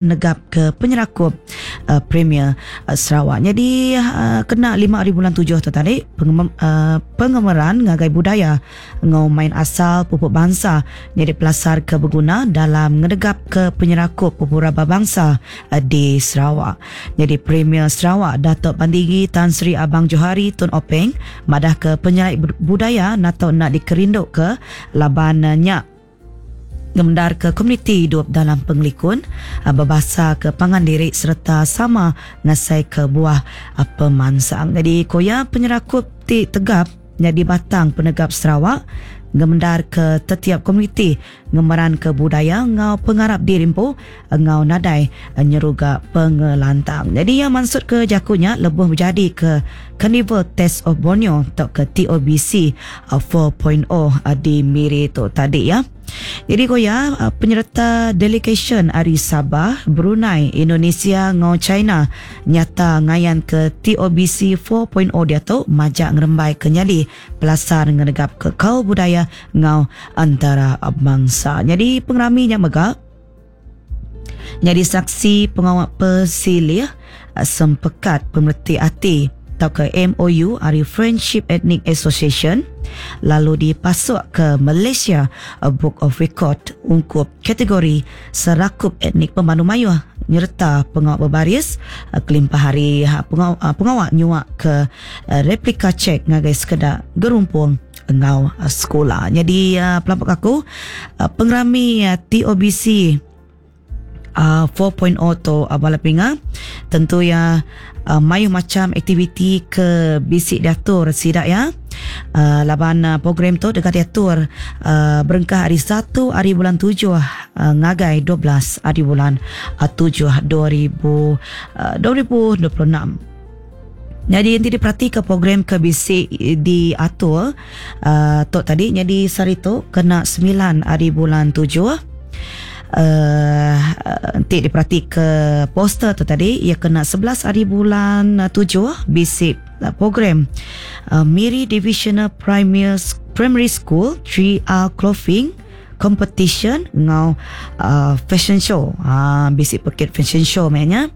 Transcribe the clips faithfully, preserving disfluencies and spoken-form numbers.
Negap ke penyerakup uh, Premier uh, Sarawak. Jadi uh, kena lima hari bulan tujuh tu tadi pengem, uh, pengemeran ngagai budaya ngau main asal pupuk bangsa jadi pelasar ke berguna dalam ngedegap ke penyerakup beberapa bangsa uh, di Sarawak. Jadi Premier Sarawak Datuk Patinggi Tan Sri Abang Johari Tun Openg madah ke penyelai budaya atau nak dikerinduk ke laban uh, nyak ngemendar ke komuniti hidup dalam pengelikun uh, berbahasa ke pangan diri serta sama ngasai ke buah uh, pemansang. Jadi koya penyerakup ti tegap jadi batang penegap Sarawak ngemendar ke tetiap komuniti ngemeran ke budaya ngau pengarap dirimpu ngau nadai nyeruga pengelantang. Jadi yang maksud ke jakunya lebuh menjadi ke Carnival Taste of Borneo atau ke T O B C empat titik kosong di Miri tu tadi ya. Jadi koya penyerta delegation ari Sabah, Brunei, Indonesia ngau China nyata ngayan ke T O B C empat titik kosong dia tu majak ngerembai ke nyadi pelasar ngenegap ke kau budaya ngau antara bangsa. Jadi pengeraminya mega jadi saksi pengawal pesilih sempekat pemerhati hati atau ke M O U ari Friendship Ethnic Association lalu dipasuk ke Malaysia Book of Record ungkup kategori serakup etnik pemandu mayuh nyerta pengawal berbaris kelimpah hari pengawal, pengawal nyuak ke replika cek ngagai sekedar gerumpung ngau sekolah. Jadi pelampak aku pengerami T O B C uh, empat titik kosong tu uh, bala pinga tentu ya uh, mayu macam aktiviti ke bisik diatur sidak ya. Uh, laban uh, program tu dekat diatur uh, berengkah hari satu hari bulan tujuh uh, ngagai dua belas hari bulan uh, tujuh dua ribu uh, dua ribu dua puluh enam. Jadi nanti diperhati ke program ke bisik diatur uh, tok tadi. Jadi sehari tu kena sembilan hari bulan tujuh, uh, nanti diperhati ke poster tu tadi ia kena sebelas hari bulan tujuh bisik uh, program uh, Miri Divisional Primary, Primary School three R Clothing Competition ngau uh, fashion show. Ha, bisik pekit fashion show maknanya.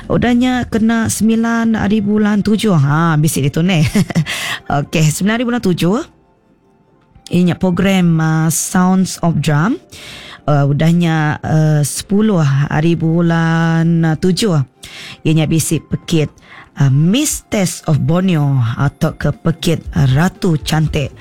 Udahnya kena sembilan hari bulan tujuh. Ha, bisik itu ni. Okey, sembilan hari bulan tujuh. Ini program uh, Sounds of Drum. Uh, udahnya uh, sepuluh hari bulan uh, tujuh. Ianya bisik pekit uh, Miss Taste of Borneo atau ke pekit uh, Ratu Cantik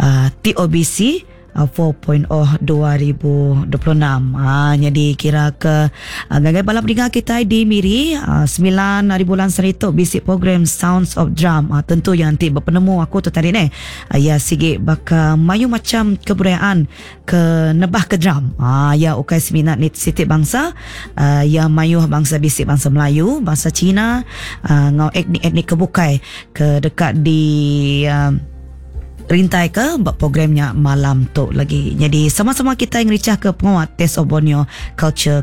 uh, T O B C empat titik kosong dua ribu dua puluh enam. Ha, jadi kira ke uh, gagai balap dengar kita di Miri uh, sembilan hari bulan seritu bisik program Sounds of Drum. Uh, tentu yang nanti berpenemu aku tu tadi ni. Uh, ya sigi baka mayu macam kebudayaan ke nebah ke drum. Ha, ya ukai seminat ni sitik bangsa uh, ya mayu bangsa bisik bangsa Melayu, bangsa Cina, uh, ngau etnik-etnik kebukai ke dekat di uh, rintai ke buat programnya malam tu lagi. Jadi sama-sama kita yang ricah ke penguat Taste of Borneo Culture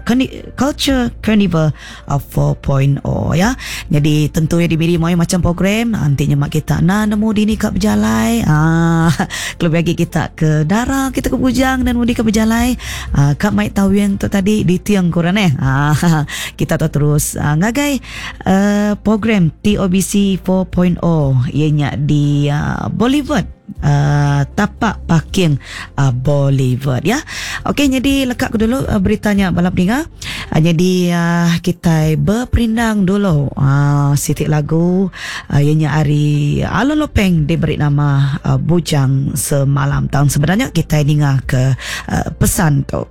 Culture Carnival empat titik kosong ya. Jadi tentu ya diberi mau macam program nantinya mak kita nak nemu dini kat berjalai. Ah, kalau bagi kita ke Dara, kita ke Bujang dan mudi ke berjalai. Ah, kak mai tahu yang tu tadi di tiang kurang eh. Ah, kita tu terus ah, ngagai uh, program T O B C empat titik kosong ianya di uh, Boulevard, uh, tapak parking uh, Boulevard ya. Okey, jadi lekak aku dulu uh, beritanya balap dengar. Uh, jadi uh, kita berperindang dulu uh, sitik lagu uh, ianya ari Alon Lopeng diberi nama uh, Bujang Semalam. Tahun sebenarnya kita dengar ke uh, pesan tu.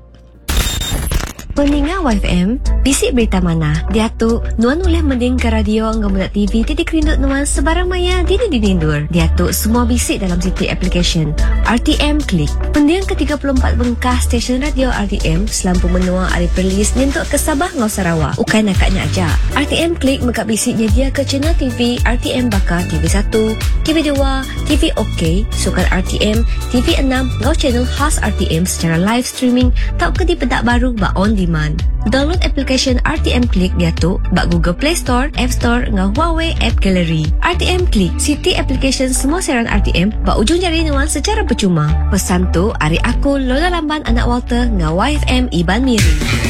Peninga Y F M, bisik berita mana? Dia tu, nuan boleh mending ke radio ngau mudak T V titik kerinduk nuan sebarang maya dini dinindur. Dia tu semua bisik dalam sitik application R T M Klik. Pendiang ke tiga puluh empat bengkah stesen radio R T M selampu menua ari Perlis nyentuk ke Sabah ngau Sarawak. Ukai nakaknya aja. R T M Klik megak bisiknya dia ke channel T V R T M baka T V satu, T V dua, T V OK, Sukan R T M, T V enam ngau channel khas R T M secara live streaming tau ke di pedak baru ba on demand. Download application R T M Klik dia tu bak Google Play Store, App Store ngau Huawei App Gallery. R T M Klik, siti application semua siaran R T M bak ujung jari nuan secara percuma. Pesan tu ari aku Lola Lamban anak Walter ngau Y F M Iban Miri.